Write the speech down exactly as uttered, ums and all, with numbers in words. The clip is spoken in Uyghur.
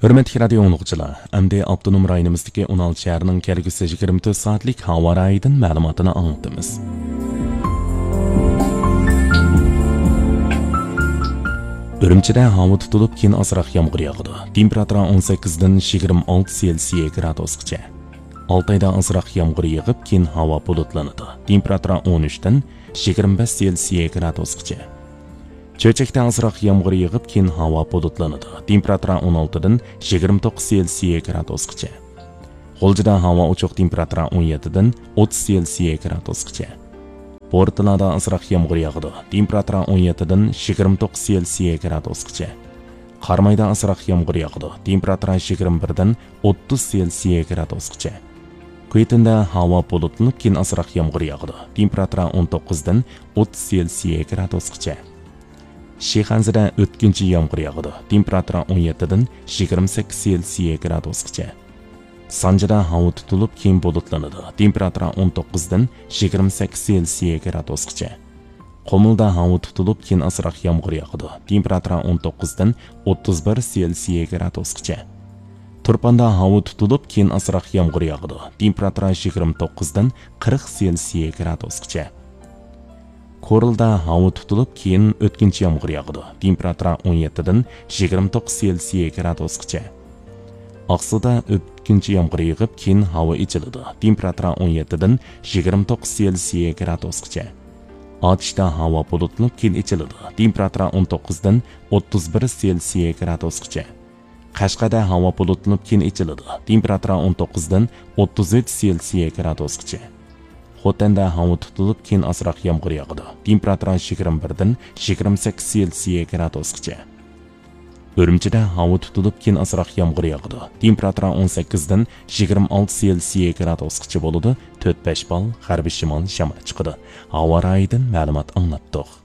ھۆرمەتلىك رادىيو ئاڭلىغۇچىلار، ئەمدى ئاپتونوم رايونىمىزدىكى ئون ئالتە شەھەرنىڭ كەلگۈسى يىگىرمە تۆت سائەتلىك ھاۋا رايىدىن مەلۇماتىنى ئاڭلىتىمىز. ئۈرۈمچىدە ھاۋا تۇتۇلۇپ، كېيىن ئازراق يامغۇر ياغىدۇ. تېمپېراتۇرا ئون سەككىزدىن يىگىرمە ئالتە سېلسىيە گرادۇسقىچە. ئالتايدا ئازراق يامغۇر يېغىپ، كېيىن ھاۋا بۇلۇتلىنىدۇ. تېمپېراتۇرا ئون ئۈچتىن يىگىرمە بەش سېلسىيە گرادۇسقىچە. چۆچەكتە ئازراق يامغۇر يېغىپ، كېيىن ھاۋا بۇلۇتلىنىدۇ. تېمپېراتۇرا ئون ئالتىدىن يىگىرمە توققۇز سېلسىيە گرادۇسقىچە. غۇلجىدا ھاۋا ئوچۇق، تېمپېراتۇرا ئون يەتتىدىن ئوتتۇز سېلسىيە گرادۇسقىچە. بورتالادا ئازراق يامغۇر ياغىدۇ. تېمپېراتۇرا ئون يەتتىدىن يىگىرمە توققۇز سېلسىيە گرادۇسقىچە. قارامايدا ئازراق يامغۇر ياغىدۇ. تېمپېراتۇرا يىگىرمە بىردىن ئوتتۇز سېلسىيە گرادۇسقىچە. كۈيتۈندە ھاۋا بۇلۇتلىنىپ، كېيىن ئازراق يامغۇر ياغىدۇ. تېمپېراتۇرا ئون توققۇزدىن ئوتتۇز سېلسىيە گرادۇسقىچە. شىخەنزىدە ئۆتكۈنچى يامغۇر ياغىدۇ. تېمپېراتۇرا ئون يەتتىدىن يىگىرمە سەككىز سېلسىيە گرادۇسقىچە. سانجىدا ھاۋا تۇتۇلۇپ، كېيىن بۇلۇتلىنىدۇ. تېمپېراتۇرا ئون توققۇزدىن يىگىرمە سەككىز سېلسىيە گرادۇسقىچە. قۇمۇلدا ھاۋا تۇتۇلۇپ، كېيىن ئازراق يامغۇر ياغىدۇ. تېمپېراتۇرا ئون توققۇزدىن ئوتتۇز بىر سېلسىيە گرادۇسقىچە. تۇرپاندا ھاۋا تۇتۇلۇپ، كېيىن ئازراق يامغۇر ياغىدۇ. تېمپېراتۇرا يىگىرمە توققۇزدىن قىرىق سېلسىيە گرادۇسقىچە. كورلىدا ھاۋا تۇتۇلۇپ، كېيىن ئۆتكۈنچى يامغۇر ياغىدۇ. تېمپېراتۇرا ئون يەتتىدىن يىگىرمە توققۇز سېلسىيە گرادۇسقىچە. ئاقسۇدا ئۆتكۈنچى يامغۇر يېغىپ، كېيىن ھاۋا ئېچىلىدۇ. تېمپېراتۇرا ئون يەتتىدىن يىگىرمە توققۇز سېلسىيە گرادۇسقىچە. ئاتۇشتا ھاۋا بۇلۇتلىنىپ، كېيىن ئېچىلىدۇ. تېمپېراتۇرا ئون توققۇزدىن ئوتتۇز بىر سېلسىيە گرادۇسقىچە. قەشقەردە ھاۋا بۇلۇتلىنىپ، كېيىن ئېچىلىدۇ. تېمپېراتۇرا ئون توققۇزدىن ئوتتۇز ئۈچ سېلسىيە گرادۇسقىچە. خوتەندە ھاۋا تۇتۇلۇپ، كېيىن ئازراق يامغۇر ياغىدۇ. تېمپېراتۇرا يىگىرمە بىردىن يىگىرمە سەككىز سېلسىيە گرادۇسقىچە. ئۈرۈمچىدە ھاۋا تۇتۇلۇپ، كېيىن ئازراق يامغۇر ياغىدۇ. تېمپېراتۇرا ئون سەككىزدىن يىگىرمە ئالتە سېلسىيە گرادۇسقىچە بولىدۇ. تۆت بەش بال غەربىي شىمال شامال چىقىدۇ. ھاۋا رايىدىن مەلۇمات ئاڭلاتتۇق.